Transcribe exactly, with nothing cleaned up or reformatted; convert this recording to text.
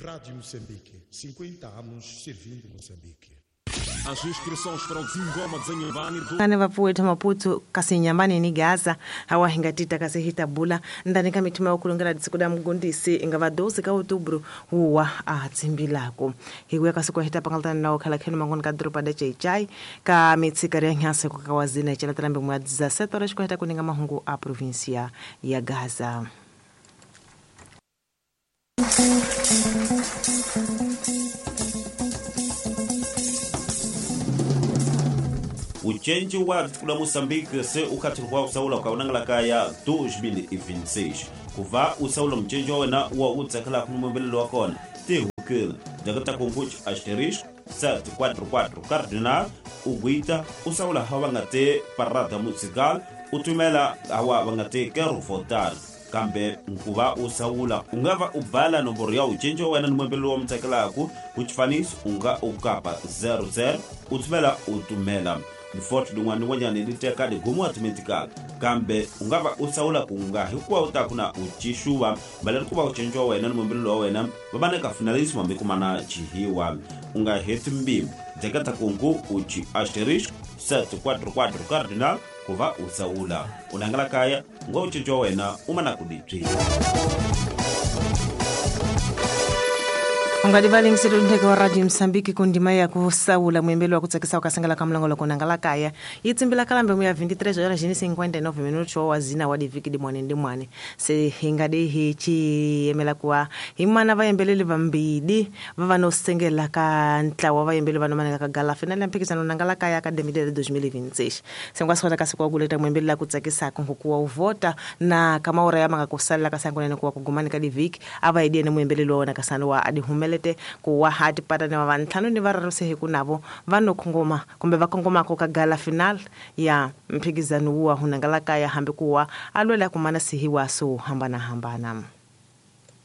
Rádio Moçambique, cinquenta anos servindo Moçambique. As inscrições para o Zingoma de Inhambane do Ane vapfuwethu Maputo kasi Inhambane ni Gaza hawa hingatita kasi hitabula ndani ka mithima ya kulongela disiku da mugundisi inga va doze ka outubro huwa a tsimbilako hi kuya kasi kwa hitapangaltana nawo khala khenu mangoni ka doroba da Chaichai ka mitsikari ya nyansa ku kawazina ichelatela mbemu ya dezessete horas kwa hita kuninga mahungu a província ya Gaza. Uchenji wa kula Moçambique se ukhathirwa usaula ukaunangala kaya dois mil e vinte e seis kuva usaula mchenji wa wena wa utsakela kumubelelo wa kona tihukile dakata kunguch asterisco sete quatro quatro cardinal uguita usaula hawa ngate parada musical utumela hawa ngate quero votar kambe nkuva usaula ungava ubhala nomboro ya uchenji wa wena nimwembelelo wa mtsakelaku kuchifaniso unga ukapa zero zero utumela utumela Forte din'wana ni n'wanyana li teka ligumu automatically kambe ungava usaula kunga hikuva u ta ku na ucixuva valeri ku va u cinca wa wena ni mumbelelo wa wena va va na ka finalismo hambi kumana chihiwa u nga heti mbilu dzeketa kungu uchi asterisco sete quatro quatro cardinal ku va u saula u langala kaya ngo u cinca wa wena u mana ku dibyi. Ungadivalingiselo ndheke wa Radio Msambiki kundima ya kusaula mwembelo wa kutsakisa ukasangala kamlango loko nangala kaya yitsimbila kalambe mu ya vinte e três horas e cinquenta e nove minutos wa zina wa diviki di mwane ndi mwane se hingade hichi emela kuwa himana vayembeleli vambidi vava no sengela ka ntlawa vayembeli va nomanela ka gala final ya mphikizano nangala kaya Academy de dois mil e vinte e seis sengwasota kasi kwa kuleta mwembeli la kutsakisa kungukuwa uvota na kama ora ya manga kusalela kasangonene kuwa kugumani ka diviki ava idiene mwembeleli wa wona kasano wa adihumele kuwa hati pata ni vantlhanu ni vararu se hi ku navo va no kongoma kumbe va kongomako ka gala final ya mphikizano wa hunangala kaya hambi kuwa a lwela kumana sihiwa swo hambanahambana.